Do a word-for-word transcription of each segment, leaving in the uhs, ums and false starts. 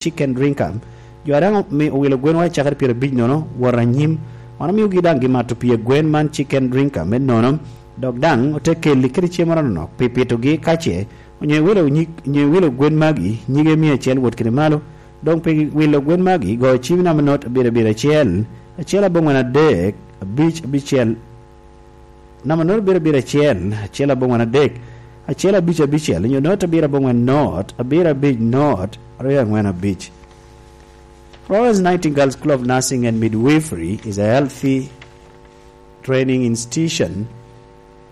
Chicken Drinker. Jo a daŋ omi-, owilo gwenwa i cakere pyerabic nono wot anyim, wan omiogi daŋ gimato pii gwen man Chicken Drinker me nono, dok daŋ ote kelli kede cem anonok pi pitogi ka ce onyo iwilo nyig, onyo iwilo gwen magi nyige mia acel wot kede malo. Doŋ pi wilo gwen magi, go cim namba not abiro abiro acel, acel aboŋwen adek, abic abicel, namba not abiro abiro acel, acel aboŋwen adek, acel abic abicel, onyo not abiro aboŋwen not, abiro abic not, aryo aŋwen abic. Florence Nightingale School of Nursing and Midwifery is a healthy training institution,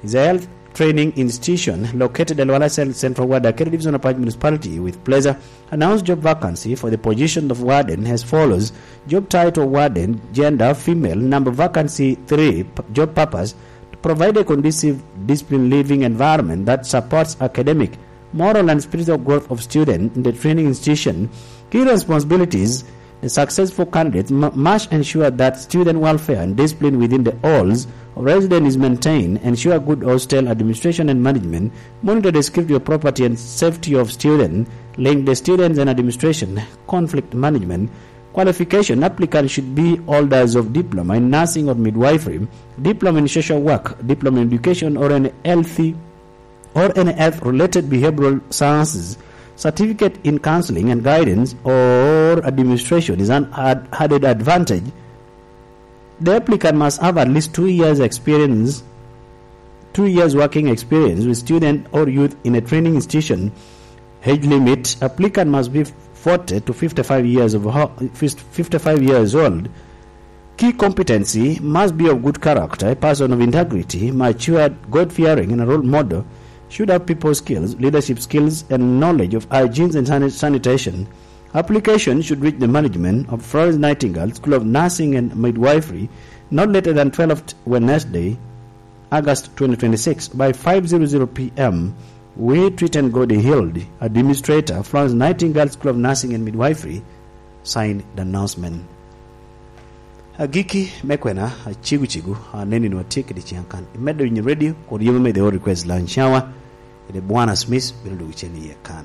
is a health training institution located at Luanda Cen-, Central Ward, Akere Division of Apac Municipality, with pleasure announce job vacancy for the position of warden as follows. Job title: warden, gender female, number vacancy three, p-, job purpose: to provide a conducive discipline living environment that supports academic, moral and spiritual growth of student in the training institution. Key responsibilities: the successful candidate mu-, must ensure that student welfare and discipline within the halls of residence is maintained, ensure good hostel administration and management, monitor the security of property and safety of student, link the students and administration, conflict management. Qualification: applicant should be holders of diploma in nursing or midwifery, diploma in social work, diploma in education or in healthy or any health-related behavioral sciences, certificate in counseling and guidance or administration is an ad-, added advantage. The applicant must have at least two years experience, two years working experience with student or youth in a training institution. Age limit: applicant must be forty to fifty-five years of ho-, fifty-five years old. Key competency: must be of good character, a person of integrity, matured, God-fearing, and a role model. Should have people skills, leadership skills, and knowledge of hygiene and sani-, sanitation. Application should reach the management of Florence Nightingale School of Nursing and Midwifery not later than twelfth Wednesday, August twenty twenty-six, by five zero zero P M. We treat and God healed. Administrator, Florence Nightingale School of Nursing and Midwifery. Signed, the announcement. Agikki me kwena, acegu cegu, aneni nwa tye kede ciŋ kan. Imedo winyo radio, kod yema me the All Request Lunch Hour, kede Bwana Smith bino dwogo cen iye kan.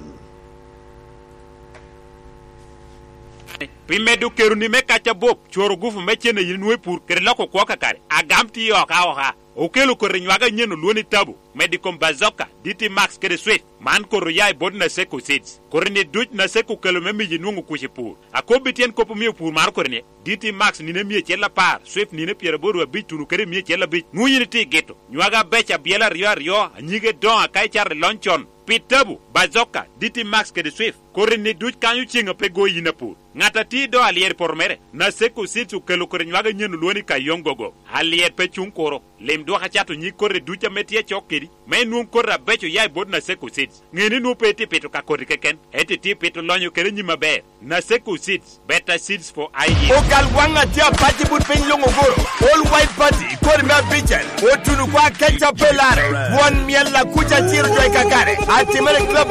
Pi medo keroni me kac abup, cworo gufu me cen a yin inwoŋo i pur, kede loko kwo kakare, agam tiyo oka oka. Okelo koti nywage anyen olwoni tabu, medo i kom Bazooka, D T Max kede Swift. Man koti oya i bot Naseko Seeds. Koti-ni duc Naseko okelo me miyi nwoŋo kuc i pur. Akobbi tyen kop omio pur maro koti-ni, D T Max nino mia acel apar, Swift nino pyeraboro abic tuno kede mia acel abic. Nwoŋo yin itye i gito. Nywage abeco abyela aryo aryo, anyige doŋo aka icato i lony con. Pi tabu, Bazooka, D T Max kede Swift, koti-ni duc kanyo ceŋ a pe go yin apur. Ŋat a tye i do alyet i poto mere, Naseko Seeds okelo koti nywage anyen olwoni Kayongogo. Alyet pe cuŋ kuro. Lim dwok acato nyig koti duc ame tye acok kedi, me inwoŋ koti abeco oya i bot Naseko Seeds. Ŋe ni nwoŋo pe itye pito ka koti keken, ento itye pito lonyo kede nyim aber. Naseko Seeds, better seeds for ideas. Ogal waŋ a tye apac i but piny luŋ ogoro. All White Party, kodi me abicel, otuno kwa keca pe lare. Won myel akuca ciro jo i kakare. Atimere i club